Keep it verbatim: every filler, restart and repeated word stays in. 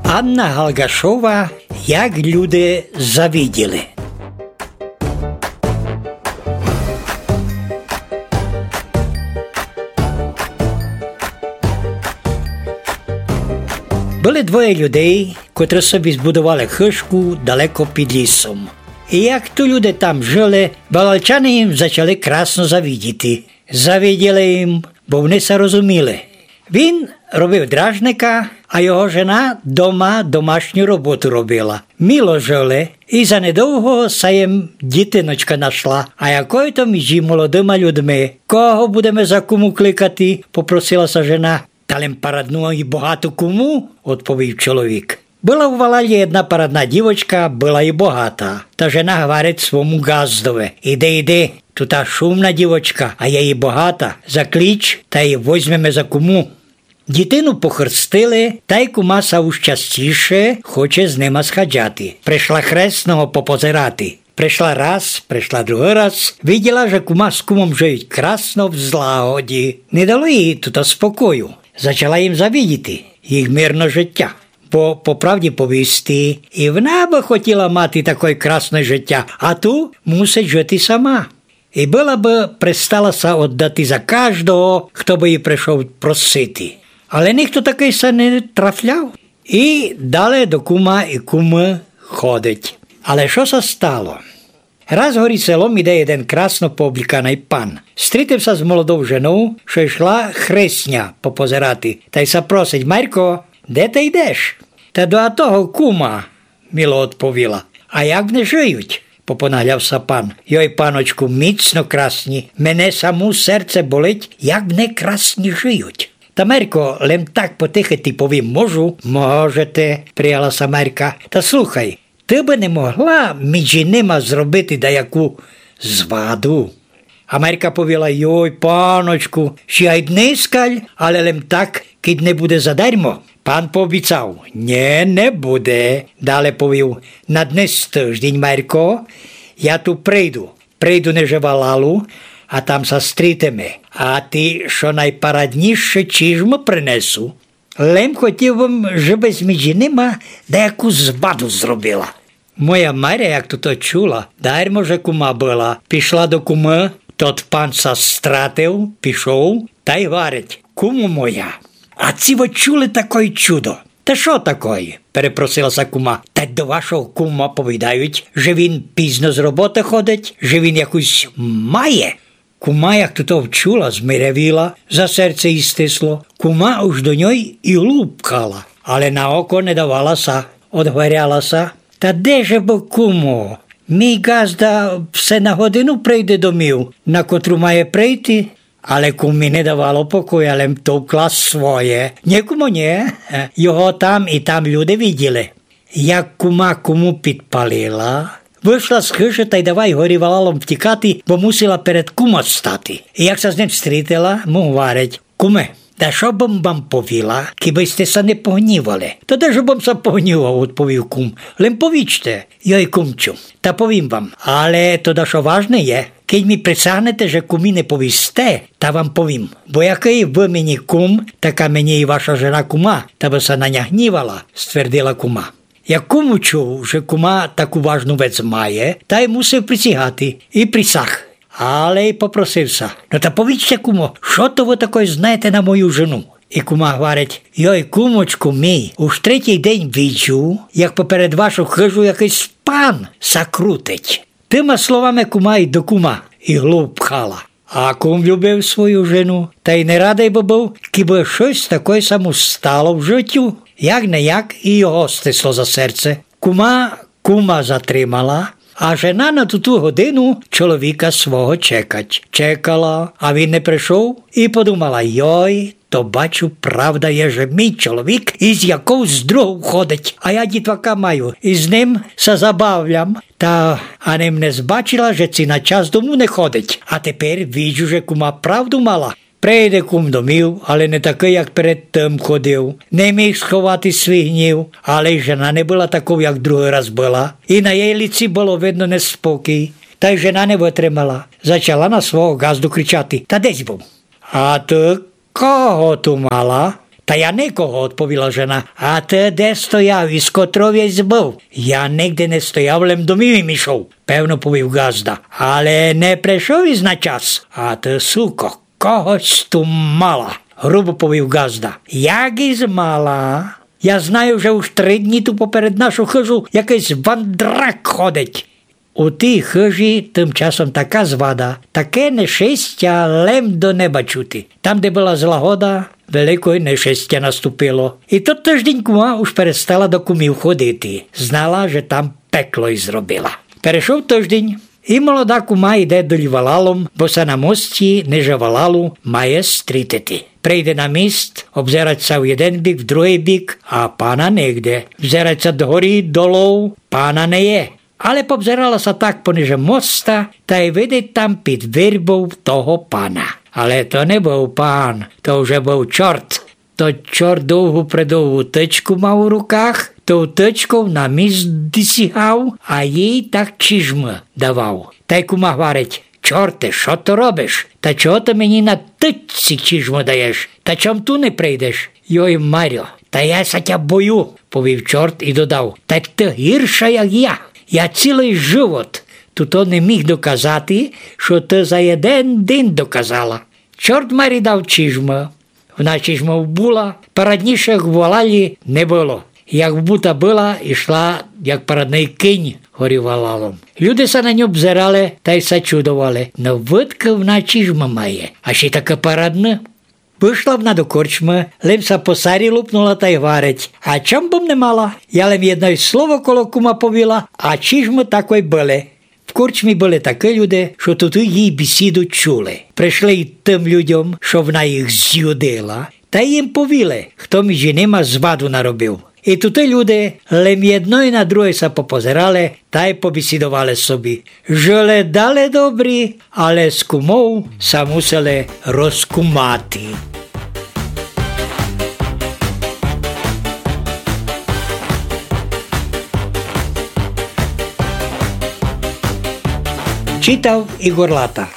Анна Галгашова. Як люди завиділи. Были двоє людей, котры собі збудовали хыжку далеко під лісом. І як то люди там жыли, валалчане їм зачали красно завидіти. Завиділи їм, бо вони ся розуміли. Він робив дражника, а його жена дома домашню роботу робила. Мило жыли, і занедовго ся їм дітиночка нашла. А якой то між молодыма людми? Кого будеме за куму кликати? Попросила ся жена. Та лем парадну і богату куму, одповів чоловік. Была у валалі єдна парадна дівочка, была і богата. Та жена гварить свому ґаздови: «Іди, іди, тута шумна дівочка, а є і богата, заклич, та ї возьмеме за куму». Дітину похрестили, та й кума ся уж частіше хоче з нима сходжати. Пришла хресного попозирати. Пришла раз, пришла другый раз, виділа, же кума з кумом жиють красно в злагоді. Не дало їй тута спокою. Зачала їм завидіти їх мирно життя. Бо, по правді повісти, і вона бы хотіла мати такой красной життя, а ту мусить жити сама. І была бы пристала ся оддати за каждого, хто бы її пришов просити. Але нихто такый ся не трафляв. І дале до кума і кумы ходить. Але што ся стало? Раз горі селом іде єден красно пообліканый пан. Стрітив ся з молодов женов, што йшла хресня попозирати, та й ся просить: «Марько, де ты йдеш?» «Та до того кума», мило одповіла. «А як вони жиють?» попонагляв ся пан. «Йой, паночку, міцно красні, мене саму серце болить, як вони красні жиють». «Та, Марько, лем так потихи ти повім, можу?» «Можете», прияла ся Марька. «Та слухай, ты бы не могла між нима зробити даяку зваду?» А Марька повіла: «Йой, паночку, ще ай днескаль, але лем так, кидь не буде задармо». Пан пообіцав: «Нє, не буде». Дале повів: «На днес тыждень, Марько, я ту прийду. Прийду ниже валалу, а там ся стрітиме. А ти што найпарадніше чіжмы принесу. Лем хотів бым, жебы між нима даяку зваду зробила». Моя Маря, як тото чула, дармо же кума была, пішла до кумы, тот пан ся стратив, пішов, та й гварить: «Кумо моя, а ци вы чули такой чудо?» «Та што такой?» перепросила ся кума. «Та до вашого кума повідають, же він пізно з роботы ходить, же він якусь має». Кума, як тото вчула, змирявіла, за серце їй стисло. Кума уж до ньой і глуб пхала, але на око не давала ся, одгваряла ся: «Та де же бо, кумо? Мій ґазда все на годину прийде домів, на котру має прийти». Але кумі не давало покоя, лем товкла своє. «Нє, кумо, нє, його там і там люди виділи». Як кума куму підпалила, вышла з хыжы та й давай горі валалом втікати, бо мусила перед кума стати. І як ся з ним стрітила, му гварить: «Куме, та што бым вам повіла, кибы сьте ся не погнівали?» «Та де ж бым ся погнівав, — одповів кум, — лем повічте». «Йой, кумчу, та повім вам, але то дашто важне є. Кидь мі присягнете, же кумі не повісте, та вам повім. Бо якый вы мені кум, така мені і ваша жена кума, та бы ся на ня гнівала», ствердила кума. Як кум учув, же кума таку важну вец має, та й мусив присягати, і присяг. Але й попросив ся: «Но та повічте, кумо, што то вы такой знаєте на мою жену?» І кума гварить: «Йой, кумочку мій, уж третій день виджу, як поперед вашу хыжу якыйсь пан ся крутить». Тыма словами кума й до кума і глуб пхала. А кум любив свою жену, та й не радый бы быв, кибы штось такой ся му стало в житю. Як не як, і його стисло за серце. Кума кума затримала, а жена на туту годину чоловіка свого чекать. Чекала, а він не пришов, і подумала: «Йой, то, бачу, правда є, же мій чоловік із якоюсь другов ходить, а я дітвака маю, і з ним ся забавлям. Та аним не збачила, же ци на час дому не ходить. А тепер виджу, же кума правду мала». Прийде кум домів, але не такый, як перед тым ходив. Не міг сховати свій гнів, але й жена не была таков, як другый раз была. І на єй лиці было видно неспокій. Та й жена не вытримала. Зачала на свого ґазду кричати: «Та де сь быв?» «А ты кого ту мала?» Та я никого, одповіла жена. А ты де стояв и з котров єсь быв? Я нигде не стояв, лем домів им ішов, певно повів ґазда. Але не пришов ись на час. А ты, суко, когось ту мала, грубо повів ґазда. Як ись мала? Я знаю, же уж три дні ту поперед нашу хыжу якыйсь вандрак ходить. У тій хыжі тым часом така звада, таке нещестя, лем до неба чути. Там, де была злагода, великой нещестя наступило. И тот тыждень кума уж перестала до кумів ходити. Знала, же там пекло й зробила. Перешов тыждень, и молода кума йде долі валалом, бо ся на мості ниже валалу має стрітити. Прийде на міст, обзерать ся в єден бік, в другый бік, а пана нигде. Взерать ся догорі, долов, пана не є. Але побзерала ся так пониже моста, та й видить там під вербов того пана. Але то не быв пан, то вже быв чорт. То чорт довгу-предовгу тычку мав у руках, тов тычков на міст досягав, а їй так чижмы давав. Та й кума гварить: Чорте, што ты робиш? Та чого ты мені на тычці чижмы даєш? Та чом ту не прийдеш? Йой, Марьо, та я ся тя бою, повів чорт и додав: Та ты гірша, як я. Я цілый живот туй не міг доказати, што ты за єден день доказала. Чорт Марі дав чижмы. Вна чижмов була, параднішых в валалі не было. Як бута была, ішла, як парадный кінь горі валалом. Люди ся на ню обзерали тай ся чудовали. Но выдкы вна чижмы має, а ще й такы парадны. Вышла вна до корчмы, лем ся по сарі лупнула тай гварить: А чом бым не мала? Я лем єдно слово коло кума повіла, а чижмы такой были. В корчмі были такы люди, што туй її бесіду чули. Пришли й тым людьом, што вна їх зюдила, тай їм повіли, хто між нима зваду наробив. И туй люди лем єдно и на другой ся попозерали тай побесідовали собі. Жыли дале добрі, але з кумов ся мусили розкумати. Читав Ігор Лата.